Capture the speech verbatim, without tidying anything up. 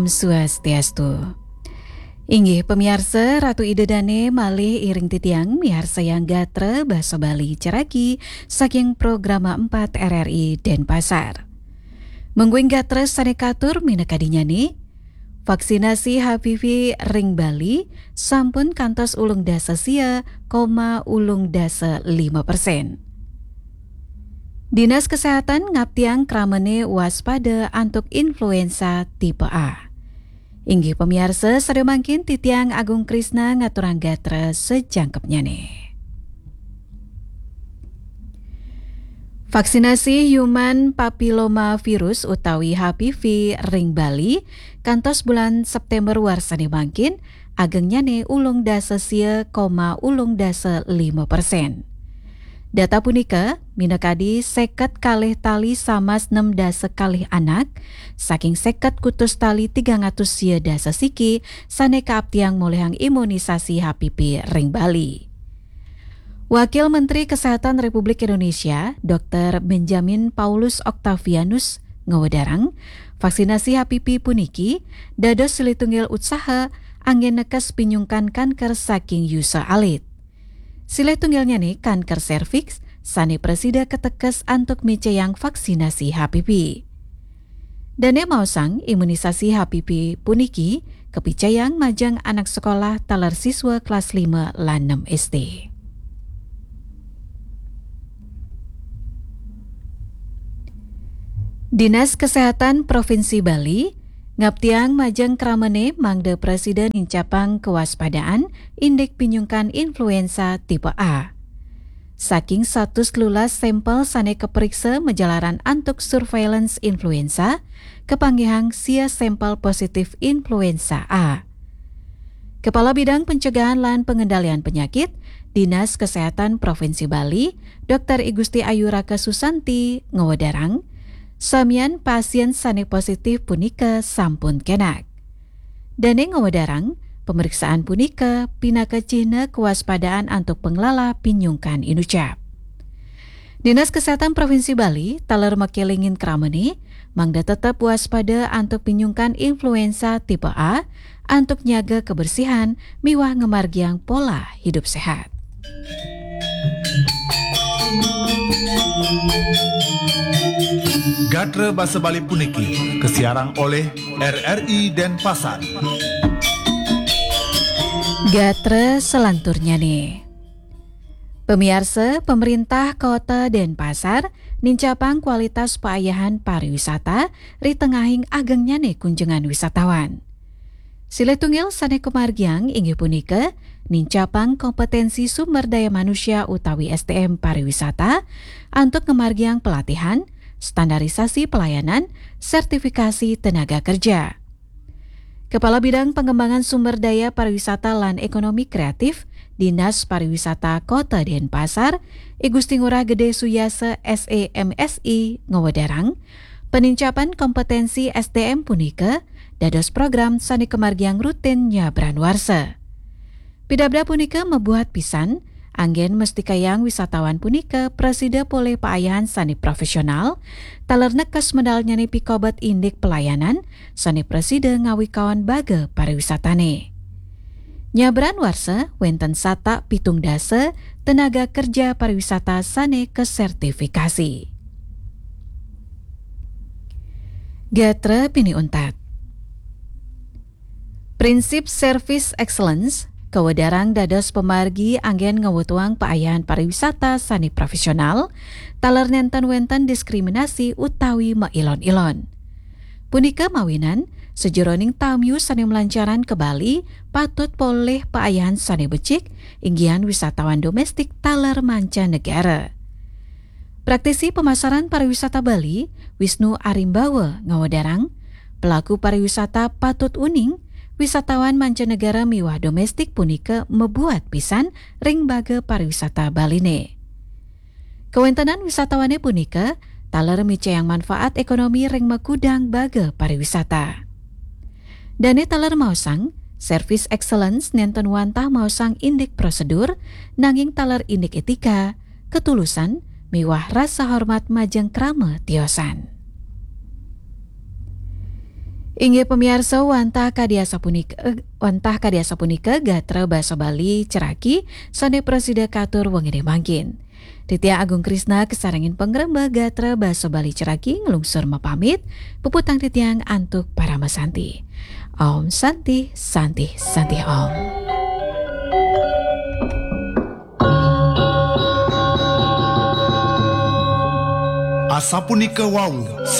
Swastiastu. Inggih pamiarsa, Ratu Ida Dane malih iring titiang miarsayang gatra basa Bali caragi saking Programa empat R R I Denpasar. Mungguing gatra sane katur minakadinyane, vaksinasi H P V ring Bali sampun kantos ulung dasa sia koma ulung dasa lima persen. Dinas Kesehatan ngaptiang kramane waspada antuk influenza tipe A. Inggih pamiarsa, sada mangkin titiang Agung Krisna ngaturang gatra sajangkepnyane. Vaksinasi human papiloma virus utawi H P V ring Bali kantos bulan September warsane mangkin agengnyane ulung dasa sia koma ulung dasa lima persen. Data punika minakadi seket kalih tali samas nem dasa kalih anak saking seket kutus tali tigang atus sia dasa siki sane kaaptiang molihang imunisasi H P V ring Bali. Wakil Menteri Kesehatan Republik Indonesia, Doktor Benjamin Paulus Octavianus, ngawedarang, vaksinasi H P V puniki dados silih tunggil utsaha anggen nekes pinyungkan kanker saking yusa alit. Silih tunggilnyane kanker serviks sane prasida katekes antuk micayang vaksinasi H P V. Dane maosang imunisasi H P V puniki kapicayang majeng anak sekolah taler siswa kelas lima lan enam S D. Dinas Kesehatan Provinsi Bali ngaptiang majeng kramane mangda prasida nincapang kewaspadaan indik pinyungkan influenza tipe A. Saking satus telulas sampel sane kapriksa majalaran antuk surveillance influenza, kapanggihang sia sampel positif influenza A. Kepala Bidang Pencegahan lan Pengendalian Penyakit, Dinas Kesehatan Provinsi Bali, Doktor I Gusti Ayu Raka Susanti, ngawedarang, samian pasien sane positif punika sampun kenak. Dane ngawedarang, pemeriksaan punika pinaka cihna kewaspadaan antuk panglalah pinyungkan inucap. Dinas Kesehatan Provinsi Bali taler makelingin kramane mangda tetep waspada antuk pinyungkan influenza tipe A, antuk nyaga kebersihan miwah ngamargiang pola hidup sehat. Gatra basa Bali puniki kasiarang olih R R I Denpasar. Gatra selanturnyane. Pamiarsa, pemerintah Kota Denpasar nincapang kualitas paayahan pariwisata ri tengahing agengnyane kunjungan wisatawan. Silih tunggil sane kamargiang inggih punika nincapang kompetensi sumber daya manusia utawi S D M pariwisata antuk ngamargiang pelatihan, standarisasi pelayanan, sertifikasi tenaga kerja. Kepala Bidang Pengembangan Sumber Daya Pariwisata lan Ekonomi Kreatif, Dinas Pariwisata Kota Denpasar, I Gusti Ngurah Gede Suyasa, S E M Si, ngawedarang, penincapan kompetensi S D M punika dados program sane kamargiang rutin nyabran warsa. Pidabdab punika mabuat pisan, anggen mestikayang wisatawan punika prasida polih paayahan sane profesional, taler nekes medalnyane pikobet indik pelayanan sane prasida ngawikaon baga pariwisatane. Nyabran warsa wenten satak pitung dasa tenaga kerja pariwisata sane kasertifikasi. Gatra pinih untat. Prinsip Service Excellence kawedarang dados pamargi anggen ngawetuang paayahan pariwisata sane profesional, taler nenten wenten diskriminasi utawi mailon-ilon. Punika mawinan, sajeroning tamiu sane malancaran ka Bali patut polih paayahan sane becik, inggihan wisatawan domestik taler mancanegara. Praktisi pemasaran pariwisata Bali, Wisnu Arimbawa, ngawedarang, pelaku pariwisata patut uning, wisatawan mancanegara miwah domestik punika mabuat pisan ring baga pariwisata Baline. Kawentenan wisatawane punika taler micayang manfaat ekonomi ring makudang baga pariwisata. Dane taler maosang, Service Excellence nenten wantah maosang indik prosedur, nanging taler indik etika, ketulusan, miwah rasa hormat majeng krama tiosan. Inggih pamiarsa, wantah kadi asapunika, wantah kadi asapunika gatra basa Bali ceraki sane prasida katur wengine mangkin. Titiang Agung Krisna kasarengin pangrembag gatra basa Bali ceraki nglungsur mapamit, puputang titiang antuk parama santi. Om Santi, Santi, Santi Om. Asapunika wau